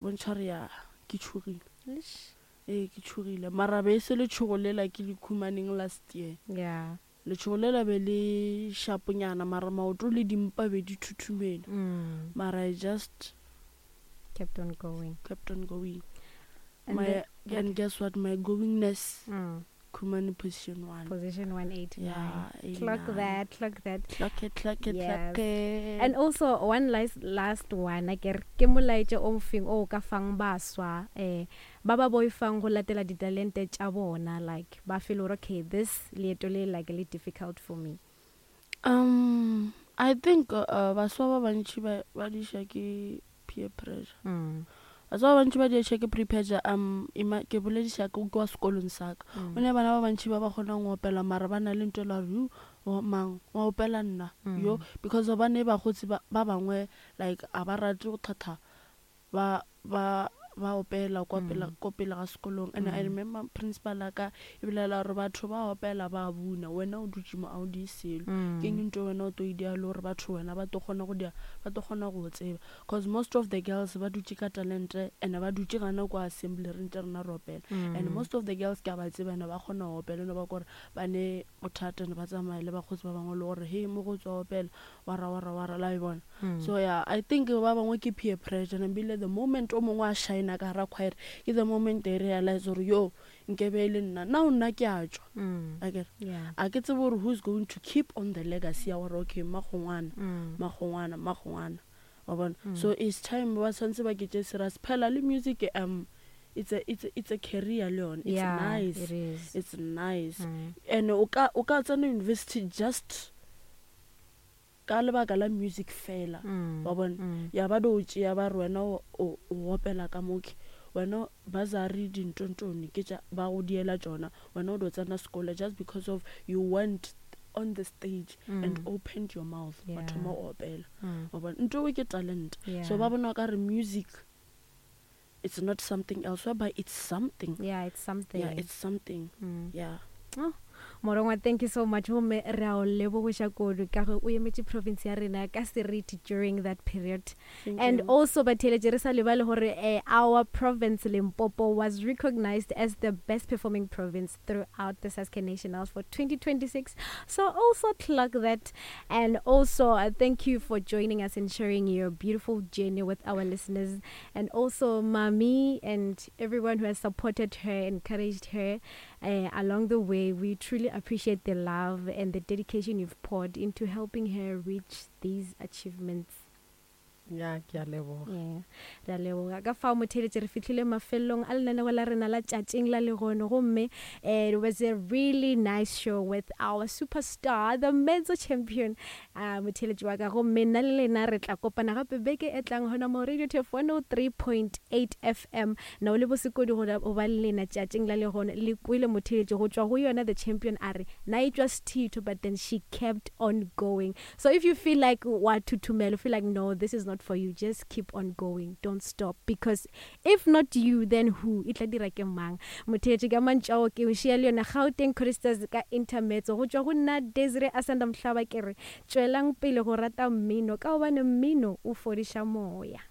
Bontšha gore ya ke tšhogile. Ee, ke tšhogile. Mara be e se letšhogo lela ke le khumaneng last year. Yeah. Letšhogo lela be le šaponyana mara maoto le dimpa be di thuthumela. Mara I just kept on going. Kept on going. And my, the, and guess what? My goingness. Khumane position 1. Position 189. Yeah, clock that, clock that. Clock it, clock it, yes. clock it. And also one last last one a ke re ke molaetša o mofeng o ka fang baswa eh ba ba boifang go latela ditalente tša bona like ba feel gore okay this leeto le like le difficult for me. Um I think uh, baswa ba bantši ba ba diša ke peer pressure. Mm. Baswa ba bantši ba diša ke peer pressure um ima ke bolediša ke kwa sekolong sa ka. Mm. O ne bana ba bantši ba ba kgonang go opela mara ba na le ntho e la gore yu mang wa opela nna mm. yo because ba ne bakgotsi ba ba bangwe like a ba rate go thatha ba ba ba opela kwa pele ko pele ga sekolong and I remember principal ya ka e bolela gore batho ba opela ba buna wena o dutše mo a o die selo ke eng ntho wena o tlo e dia le gore batho wena ba tlo kgona go dia ba tlo kgona go tseba cause most of the girls ba dutše ka talente and ba dutše gana kwa assembly re ntse rena re opela and most of the girls ke a ba tseba and ba kgona go opela no ba kore ba ne bothata and ba tsamaya le bakgotsi ba bangwe le gore he mo go tswa opela wara wara wara la e bona Mm. So yeah, I think ba bangwe ke peer pressure and ebile the moment o mongwe a shine ka gara choir ke the moment they realize gore yo nkebe e le nna now nna ke a tšwa mm. akere yeah. a ke tsebe gore who's going to keep on the legacy ya gore okay magongwana mm. magongwana magongwana wa bona mm. so it's time ba tshwanetse ba ke tše serious phela le music um it's a, it's a, it's a career le yone it's yeah, nice it is. It's nice mm. and o ka o ka tsena university just ka lebaka la music fela mm. wa bona mm. ya ba do tšea ba re wena o o opela ka moke wena bazari dintontone ke tša ba go diela tšona wena o do tsena sekolo just because of you went on the stage mm. and opened your mouth wa yeah. thoma go opela mm. wa bona nto ke talent yeah. so ba bona ka re music it's not something else whereby it's something yeah it's something yeah it's something mm. yeah oh. Morongwa thank you so much gomme re a o lebogoša kudu ka ge o emetše province ya rena ka seriti during that period Thank and you. also batheeletše re sa lebale gore eh, our province Limpopo was recognized as the best performing province throughout the Sasca Nationals for 2026 so also clock that and also uh, thank you for joining us and sharing your beautiful journey with our listeners and also mommy and everyone who has supported her encouraged her uh, along the way. We truly appreciate the love and the dedication you've poured into helping her reach these achievements. Ya, ke a leboga. Yeah. Re a leboga. Ka fao motheeletše re fihlile mafelelong a lenaneo la rena la tšatšing la lehono gomme eh, it was a really nice show with our superstar the Mezzo champion uh, motheeletši wa ka gomme nna le lena re tla kopana gape beke e tlang gona mo Radio Turf 103.8 FM Na o le bosekodi go go ba le lena tšatšing la lehono? Le kwele motheeletši go tšwa go yona the champion a re, Na e tšwa sethitho but then she kept on going. So if you feel like wa thuthumela, you feel like no this is not for you, just keep on going, don't stop because if not you then who? E tla dira ke mang? Motheeletši ka mantšu ao ke o šia le yona Gauteng Choristers ka Intermezzo go tšwa go nna Desiree Asanda Mhlaba ke re tšwelang pele go rata mmino ka gobane mmino o fodiša moya.